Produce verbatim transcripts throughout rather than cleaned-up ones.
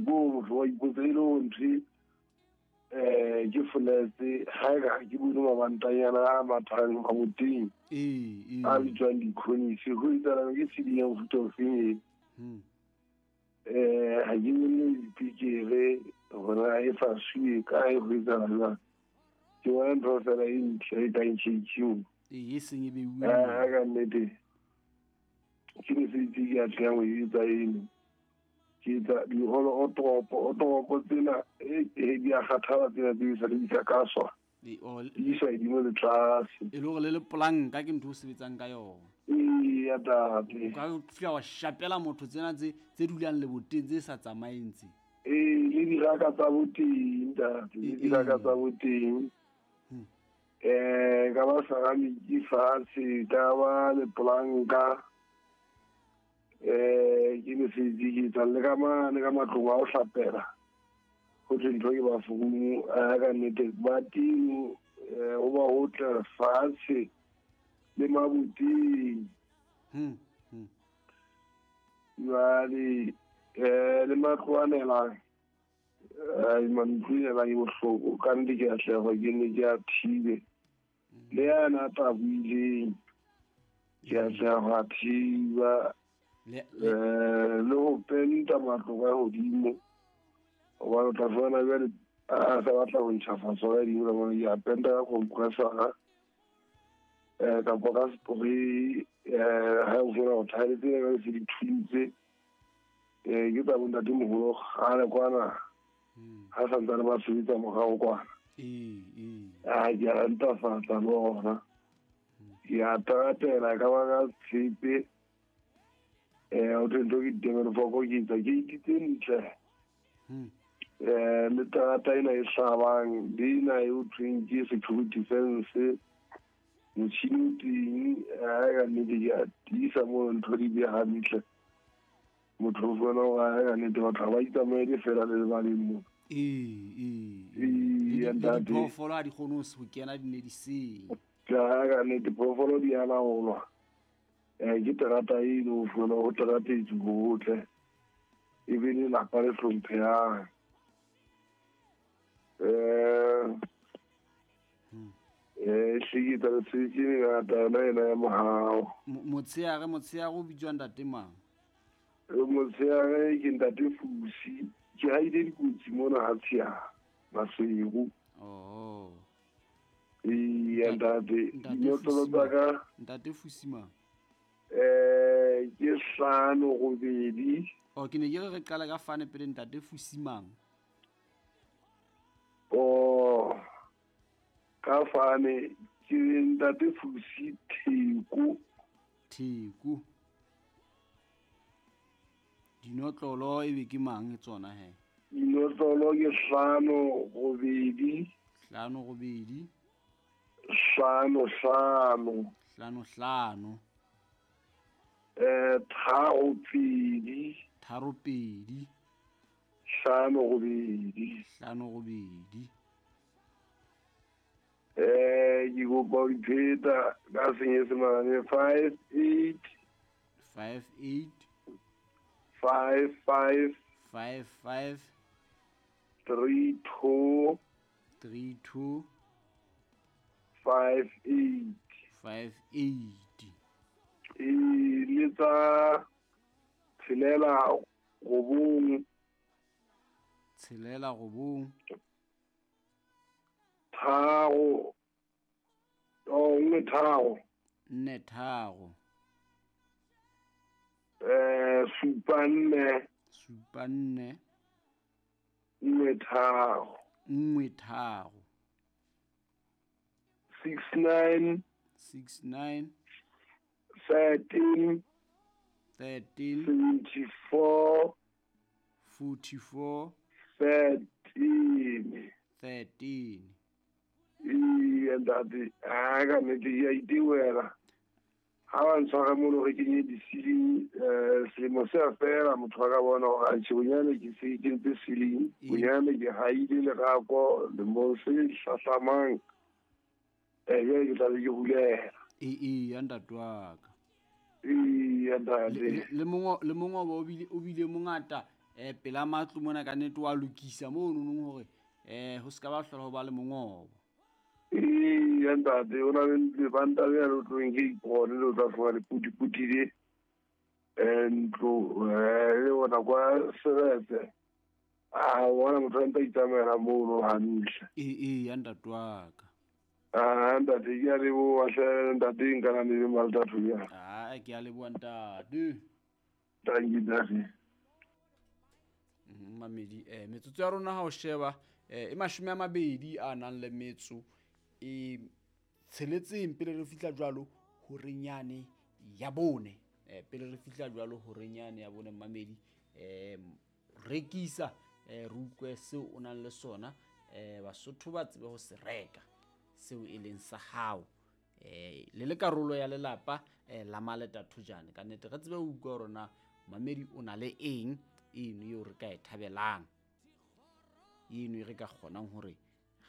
Ko motho wa ipotsa e le hore ntho eh ke foletse ha ka ke bone mabantanyana a mathang maboteng ee a bitswang dikhonisi ho etsahala ke ceiling ya mofuta ofeng e eh ha ke bone dipikere hore e fasuwe kae ho etsahala jwang. Ke bona ntho fela e ntle e kang tjhetjheng ee e seng e beuwe ha ka nnete ke mesebetsi ke atlehang ho e etsa eno. Ke etsa diholo o toropo o toropo tsena e di a kgathala tsena tse sa di sa kaswa di isa hodimo le tlase e le hore le le polanka ke ntho o sebetsang ka yona ee ya tate o ka fihla wa shapela motho tsena tse tse dulang leboteng tse sa tsamaeng tse ee le diraka tsa boteng ntate le diraka tsa boteng eh ka ba saramiki fatshe ka ba le polanka eh ke mesebetsi ke etsang le ka mane ka matlong a ho hlapela ho thwe ntho ke bafounu a ka nnete ba teng ho ba ho tla fatshe le maboteng jwale eh le matlo a nelang mantlo nelang e bohloko ka nnete ke atleha ke nne ke a thibe le yana a taboileng ke atleha ho a thiba eh le ho penta matlo ka hodimo hobane o tla fumana jwale a sa batla ho ntjhafatsa ka hodimo ka mona ke a penta ka compressor-a eh kapa ka spray eh ha o fumana hore thaere tsena jwale se di thuntse eh ke tsa bo ntatemoholo kgale kwana ha santsane ba sebetsa morao kwana ee ee a ke a ntlafatsa le ona ke a teratela ka ba ka tshepe eh o ntho ke ditemelofoko ke etsa ke tse ntle eh le terata ena e hlabang le ena e ho thweng ke security fence motjhini o teng ha ka nnete ke a tiisa moo ntho di be hantle motho o fumana hore ha ka nnete batho ha ba itsamaele fela le lebaleng moo ee ee le diphoofolo ha di kgone ho kena di ne di senya ha ka nnete phoofolo di a laolwa eh ke terata eno o fumana ho teratetswe hotle e be lelapa le hlomphehang eh eh hleketsa mesebetsi e mengata yona ena ya mohao motsheare motsheare o bitswa ntate mang motsheare ke ntate Fusi ke haile dikotsi mona ha tsheare Maseru oh ee ntate dinotlolo tsa ka ntate Fusi mang eh ke hlano robedi oh ke ne ke re re qala ka fane pele ntate Fusi mang oh ka fane ke ntate Fusi Theko Theko dinotlolo e be ke mang tsona he dinotlolo ke hlano robedi hlano robedi hlano hlano hlano hlano eh tharo pedi tharo pedi hlano robedi hlano robedi eh ke kopa ho dipheta ka senyesemane five eight five eight five five five five three two three two five eight five eight e le tsa tshelela robong tshelela robong tharo oh nngwe tharo nne tharo eh supa nne supa nne nngwe tharo nngwe tharo six nine six nine thirteen thirteen seventy four forty four thirteen thirteen ee ntate ha ka nnete ke a itewela ha ba ntshwara mono re kenye di-ceiling um selemo se a fela motho a ka bona hore atjhe bonyane ke se kentse ceiling bonyane ke haile lerako lemong se hlahlamang eh jwale ke tlabe ke hulela ee ee ya ntate wa ka ee ntate le mongo le mongobo o bile o bile mongata um pela matlo mona ka nnete wa lokisa mono nong hore um ho se ka ba hlola ho ba le mongobo. Eya ntate, o na le lebanta le le tlong ke ipone le tla fumana le putiputile ntlo le ona kwa Seretse. A bona motho a ntse a itsamaela mono hantle. Ee ee ya ntate wa ka. Ah ntate, ke a leboha hle ntate, nka na le Maltathu ya. Ah ke a leboha ntate. Thank you ntate. Mamedi eh metsotso ya rona ha o sheba eh e mashome a mabedi a nang le metso e tsheletseng pele re fihla jwalo horenyane ya bone. Eh pele re fihla jwalo horenyane ya bone mamedi eh rekisa eh re utlwe seo o nang le sona eh Basotho ba tsebe ho se reka seo e leng sa hao eh le le karolo ya lelapa eh la Maletathojane. Ka nnete re tsebe ho utlwa hore na mamedi o na le eng eno eo re ka e thabelang, eno e re ka kgonang hore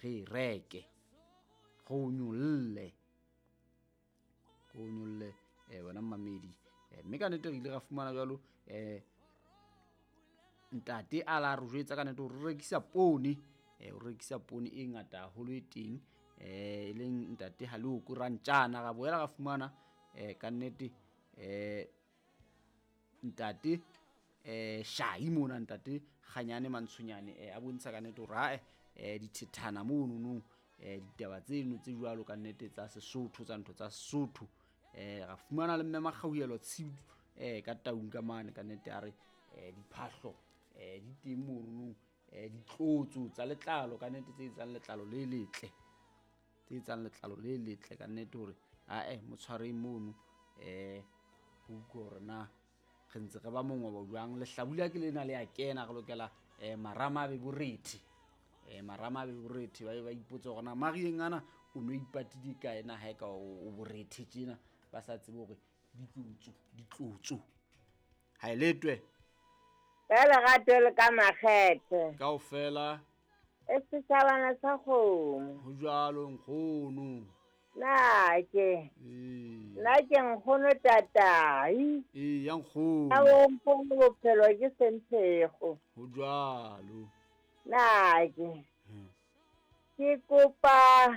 re e reke re o nyolle re o nyolle eh wena mamedi. Mme ka nnete re ile ra fumana jwalo eh ntate a la re jwetsa ka nnete hore re rekisa poone eh o rekisa poone e ngata haholo e teng eh e leng ntate Haloko Rantjana. Ra boela ra fumana eh ka nnete eh ntate eh Shai mona ntate Kganyane Mantshonyane eh a bontsha ka nnete hore ha eh dithethana mono no eh ditaba tseno tse jwalo ka nnete tsa Sesotho tsa ntho tsa Sesotho. Eh ra fumana le mme Makgauhelo Tshidu eh ka Taung ka mane ka nnete a re eh diphahlo eh di teng mono eh ditlotso tsa letlalo ka nnete tse etsang letlalo le letle tse etsang letlalo le letle ka nnete hore a eh motshwareng mono eh ho utlwe hore na re ntse re ba mongobo jwang. Lehlabula ke lena le a kena re lokela eh marama a be borethe eh marama a be borethe ba be ba ipotsa hore na marieng ana o no ipatile kae na ha e ka o borethe tjena ba sa tsebe hore ditlotso ditlotso ha e letwe ka lerato le ka makgethe kaofela e setjhabana sa kgomo. Ho jwalo nkgono. Na ke nna ke nkgono tatai. Ee ya nkgono. A o mpone bophelo ke senthego. Ho jwalo. Na ke ke kopa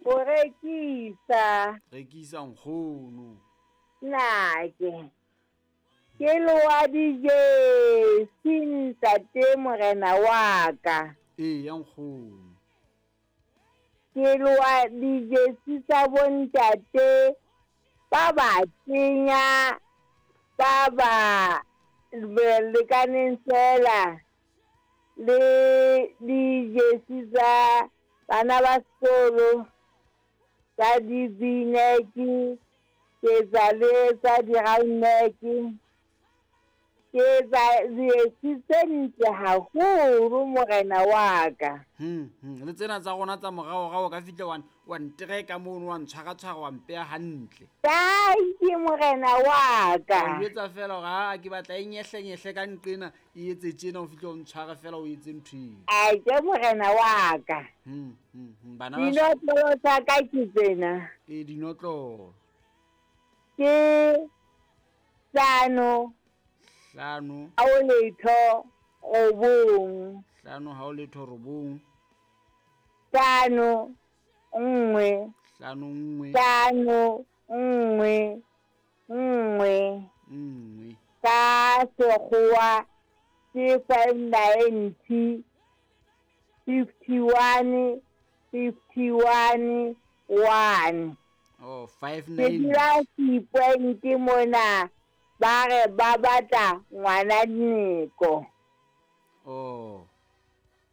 ho rekisa. Rekisa nkgono. Na ke ke loa dijesi ntate morena wa ka. Ee ya nkgono. Ke loa dijesi tsa bontate ba ba tsenya ba ba lekaneng fela le dijesi tsa bana ba sekolo tsa di-v-neck, ke tsa le tsa di-round neck, ke tsa dijesi tse ntle haholo morena wa ka. Hmm, hmm. Le tsena tsa rona tsa moraorao ka fihle wa wa ntereka mono wa ntshwaratshwara wa mpeya hantle. Tanki morena wa ka. O jwetsa fela hore ha ke batla e nyehlenyehle ka nqena e etse tjena o fihle o ntshware fela o etse ntho eo. Ai ke morena wa ka. Hmm, hmm, hmm. Bana ba dinotlolo tsa ka ke tsena. Ee dinotlolo. Ke hlano hlano ha o letho robong. Hlano ha o letho robong. Hlano nngwe. Hlano nngwe. Hlano nngwe nngwe. Nngwe. Ka sekgowa ke five ninety fifty one fifty one one. Oh, five Ke nine. dula Seapoint mona ba re ba batla ngwana Nneko. Oh.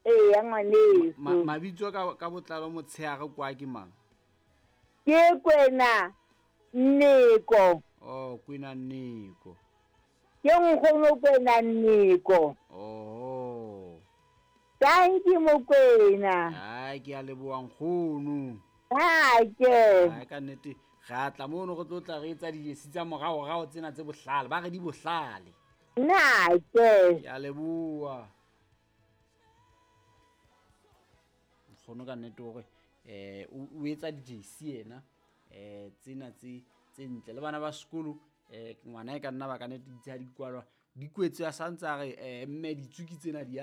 Ee ngwaneso. Ma, mabitso ka ka botlalo motshehare kwa ke mang? Ke Kwena Nneko. Oh, Kwena Nneko. Ke nkgono Kwena Nneko. Oh. Thank you Mokwena. Ai ke a leboha nkgono. Ha ke. Ai ka nnete re a tla mono re tlo tla re etsa dijesi tsa moraorao tsena tse bohlale ba re di bohlale. Na ke. Ke a leboha. Nkgono ka nnete hore eh o etsa dijesi yena eh tsena tse tse ntle le bana ba sekolo eh ngwana e ka nna ba ka nnete ditse ha di kwalwa Di kwetse a santse a re eh mme ditsuki tsena di a